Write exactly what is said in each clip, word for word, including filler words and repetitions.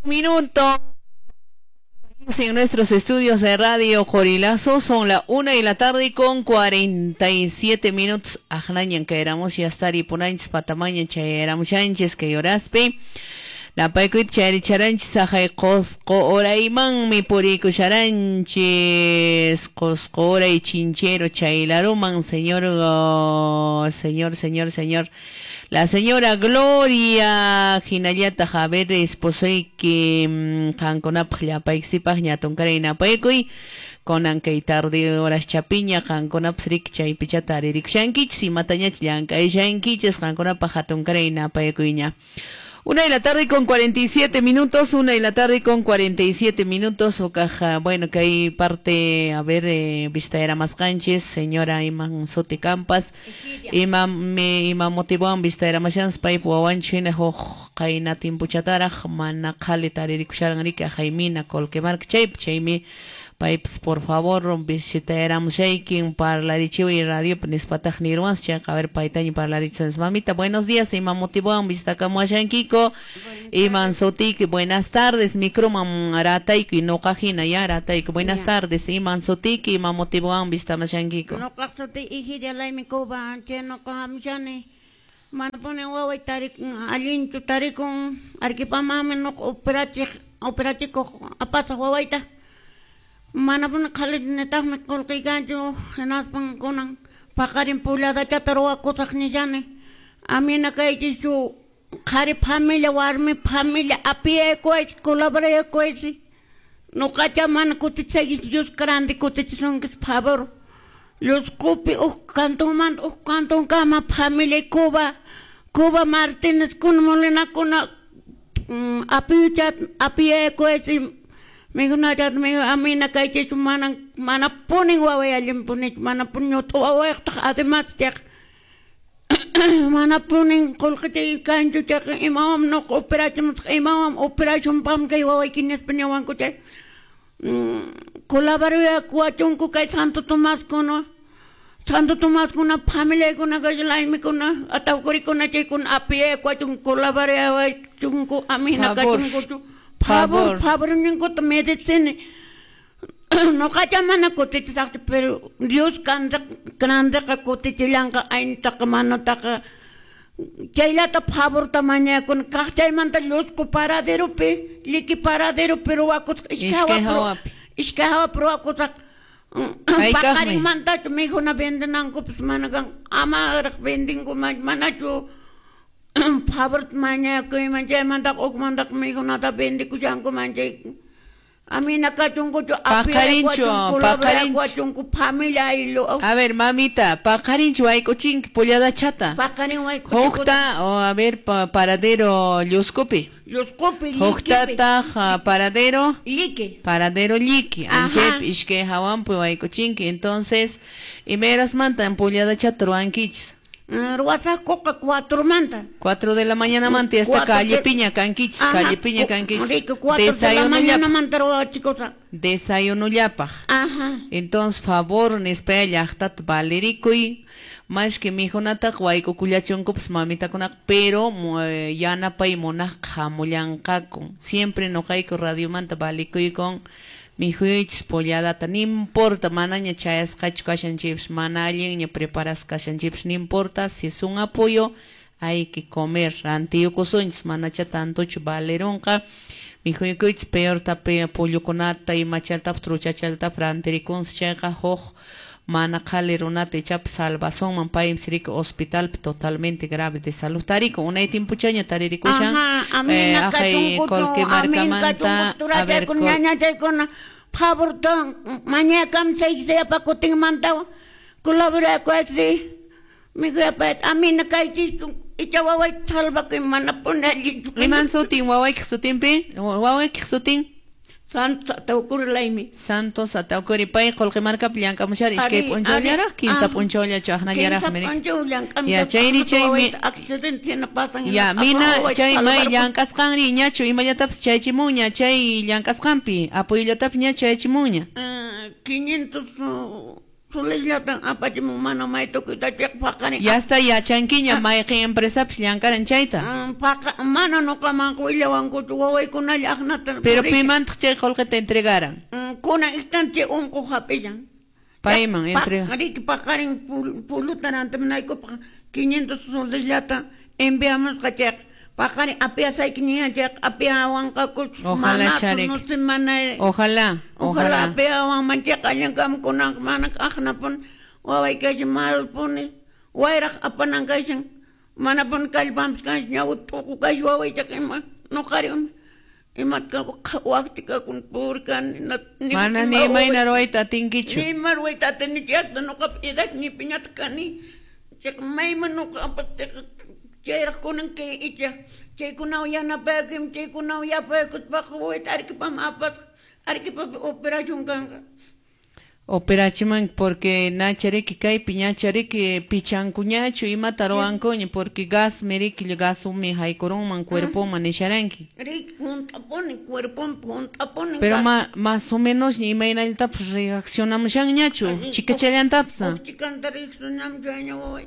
Minuto. En nuestros estudios de Radio Corilazo son la una de la tarde con cuarenta y siete minutos. Ajnañan que éramos ya estar y ponanchis patamaña chayéramos chanches que lloraspe. Napaykuit chayricharanchis ajay Qosqo oraymanmi purikusharanchis Qosqo oray chinchero chaylaruman señor oh, señor señor señor la señora Gloria hinallata Javier esposoyki qankunapaq llapaykisipaq ñatunkaray napaykuy konan kay tarde horas chapiña qankunapas riki chaypichata aririkushankichis imatañach llank'ayshankichis qankunapaq hatunkaray napaykuyña. Una de la tarde con cuarenta y siete minutos, una de la tarde con cuarenta y siete minutos, o caja, bueno, que hay parte, a ver, eh, vista era más canches, señora Iman Sote Campas, Iman me, Iman motivoan, vista era más chans, paip wawanchina, hoj, kaina timpuchataraj, mana khali taririkucharan rika, jaimina, kolkemark, chayp, chaymi, paips, por favor, visita éramos shaking, parlarichiwi radio, nispataj nirwans, chayqa, a ver, paitaño parlarichis, mamita, buenos días, Iman motivoan, vista kamuashankiko, Iman Sotiki, buenas tardes, microman ratayku, y no kajina, ya ratayku, buenas tardes, Iman Sotiki, Iman motivoan, vista mashankiko. No kasuti, ijiria laimi kuba, che no kahamshani, manapone waway tarikun, allinchu tarikun, arquipamami no operachik, operachiko, apasa wawayta. Manapuni qhalinitaqmi qullqiykanchu hinaspan kunan paqarin pulladachata ruwakusaq nishani amina kaychischu qhari familia warmi familia apiyaykuwaychis colaboraykuwaychis nuqacha mana kutichisaykichis Dios grande kutichisunkichis favor Llusqupi huk kantunmanta huk kantunkama familia Cuba Cuba Martínez kuna Molinakuna apiyuchat apiyaykuwaychis mikhunachat amina kaychis mana manapunin waway allinpunichu manapunin ñut'u wawayqtaq además chayqa manapunin qullqichay kanchu chayqa imawan nuqa operachimusaq imawan operacionpaqmi kay wawayki nispa niwanku chay colaborakuwachunku kay Santo Tomaskuna Santo Tomaskuna familiaykuna kay laymikuna atawkurikuna chaykuna apiyakuwachunku colaborawachunku amina kachunkuchu. Favor, favor, ninguta medicina. Nuqacha mana kutichisaqchu, pero Dios grandeqa kutichillanqa aynitaqa manutaqa chaylata favorta mañakuni kaq chaymanta llusqu paraderopi lliki paraderopi ruwakusqa iskay hawapi iskay hawapi ruwakusaq paqarinmantachu mikhuna vendenankupas mana kan amaraq vendinku manachu favor mañakuyman chaymantaqa hukmantaqa mikhunata vendikushankuman chay amina kachunkuchu paqarinchu paqarinchu familia aylu. A ver mamita, paqarinchu wayk'uchinki pulladachata paqarin wayk'uchinki hukta o a ver pa, paradero Llusqupi Llusqupi huktataq paradero Lliki paradero Lliki anchaypi iskay hawanpi wayk'uchinki. Entonces imayrasmantan pulladachata ruwankichis? Ruwasaqkuqa cuatro manta. Cuatro de la mañana manta y hasta calle piña kankichis, calle piña kankichis. Desayuno. Desayuno llapaq. Ajá. Entonces, favor, nispaya llaqtata valerikuy. Más que mikhunataqa wayk'ukullachunkupas mamitakunaqa, pero yanapay munaqqa hamullanqaku. Siempre nuqayku radiomanta valikuykun mikhuychis polladata, no importa, manaña chayasqachu kashanchikpas, mana allinña preparasqa kashanchikpas, no importa, si es un apoyo, hay que comer, rantiyukusunchis, manacha tantochu valerunqa, mikhuykichis peor tapi pollukunata, imachaltapas, truchachaltapas, rantirikunsi chayqa huk mana qhali runata ichapas salvasunman, paymi riki hospitalpi totalmente grave de salud tarikun, unay timpuchaña taririkushan, ajay Colque markamanta, a ver, favor mañakamsaypa kutinmantawan colaborakuwaysi mikhuyapayta amina kaychis icha wawayta salvakuy manapuni allinchu. Iman sutin wawaykiq sutinpi? Wawaykiq sutin? Santos Ataucuri Laimi. Santos Ataucuri pay Qullqi markapi llank'amushari iskay p'unchawllaraq kinsa p'unchawllachu aqnallaraqmi riki. Ya chayri chaymi accidente hina pasan. Ya mina chay may llank'asqanri ñachu imallatapis chaychimunña chay llank'asqanpi apoyollatapis ña chaychimunña. quinientos Solesllatan apachimun mana maytukuyta chayqa paqarin. Ya está yachankiña mayqin empresapis llankaran chayta. Paqa mana nuqamanqa willawankuchu wawaykunalla aqnata. Pero pimantaq chay qullqita entregaran? Kunan instante unquq hap'illan. Payman entrega. Riki paqarin puluta rantimunaykupaq quinientos solesllata enviamusqa chayqa. Paqarin apiasayki ña chayqa apiawanqakuchu. Ojalá charik. Ojalá, ojalá apiawanman chayqa allinkaman kunanqa mana aqnapuni waway kashan malpuni wayraq apanan kashan manapuni kallpanpis kanchu ñawi t'uqu kashan wawaychaqa ima nuqari imata waqti kakun pobre kani. Mana ni imayna ruwayta atinkichu. Ni ima ruwayta atinichu yaqta nuqapi edad ñipiñata kani chayqa mayman nuqa apasqa chayraq kunan kay icha chaykunawan yanapaykim chaykunawan yapaykuspaqa wawayta Arequipaman apasqa Arequipapi operación kanqa. Operachiman porque nachariki kaypi ñachariki pichankuñachu imata ruwankuña porque gas miriki gasumi haykurunman cuerpoman nisharanki. Riki hunt'apuni cuerponpi hunt'apuni. Pero ma, más o menos imaynallatapas reaccionamushanñachu chikachallantapas. Chikanta reaccionamushanña waway.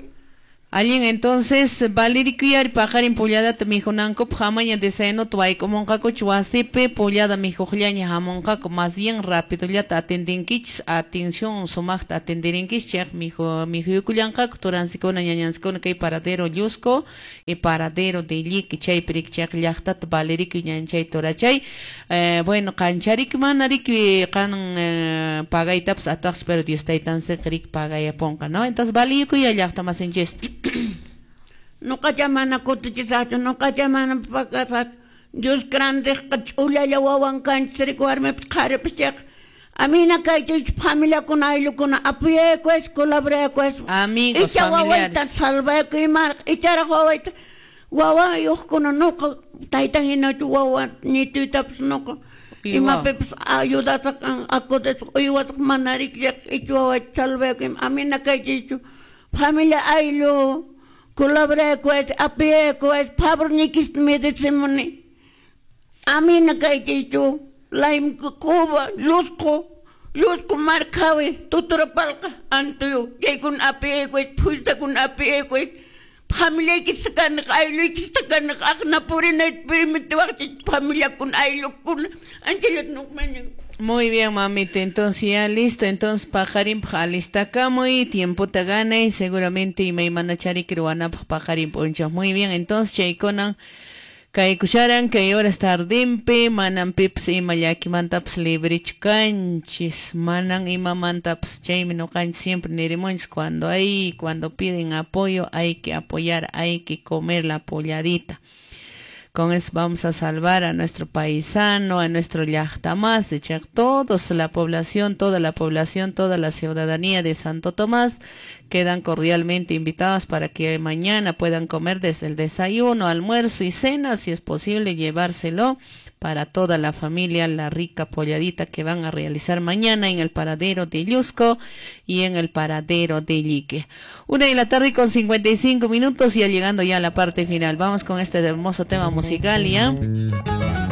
Allin entonces valirikuyari paqarin pulladata mijunankupaq hamaña desayunuta wayk'umunqakuchu wasipi pullada mijuqllaña hamunqaku más bien rapidollata atendinkichis atención sumaqta atendirinkichis chayqa miju mijuykullanqaku turansikuna ñañansikuna kay paradero Llusco y paradero de Llique chaypi riki chayqa llaqtata valirikuy ñanchay turachay eh, bueno qanchariki mana riki qan eh, pagaytapas ataqsi pero Dios taytansiqa riki pagayapunqa no entonces valirikuy llaqta masinchista. Nuqacha mana kutichisaqchu, nuqacha mana pakasaqchu. Dios grandeqa ch'ullalla wawan kanchis riki warmipis qharipis chayqa. Amina kaychis familiakuna ayllukuna apoyaykuwaychis colaboraykuwaychis. Amigos, icha familiares. Wawayta salvayku imaraq icharaq wawayta wawayuqkuna nuqa taytan hinachu wawa ñituytapas nuqa imapipis ayudasaq acudasaq uywasaq mana riki chayqa icha wawayta salvayku ima amina kaychischu. Familia ayllu colaboraykuwaychis apoyaykuwaychis favornikista medicimuni amina kaychichu Laim Cuba Llusco Llusco markawi Tuturapalqa Antuyu chaykuna apoyaykuwaychis phuytakuna apoyaykuwaychis familiaykista kaniq aylluykista kaniq aqna purinayta permitiwaqchis familiakuna ayllukuna anchallata nuqmaña. Muy bien, mamita, entonces ya listo, entonces paqarinpaq alistakamuy, tiempota ganay, seguramente imaymanachariki ruwanapaq paqarin p'unchaw. Muy bien, entonces chaykunan kaykusharan kay horas tardinpi, manan pipas ima llakimantapas librichu kanchis, manan imamantapas, chaymi nuqanchis siempre nirimunchis, cuando hay, cuando piden apoyo, hay que apoyar, hay que comer la polladita. Con eso vamos a salvar a nuestro paisano, a nuestro llaqta más, de todos la población, toda la población, toda la ciudadanía de Santo Tomás quedan cordialmente invitados para que mañana puedan comer desde el desayuno, almuerzo y cena, si es posible llevárselo para toda la familia, la rica polladita que van a realizar mañana en el paradero de Llusco y en el paradero de Llique. Una de la tarde con cincuenta y cinco minutos, ya llegando ya a la parte final. Vamos con este hermoso tema musical, ¿ya?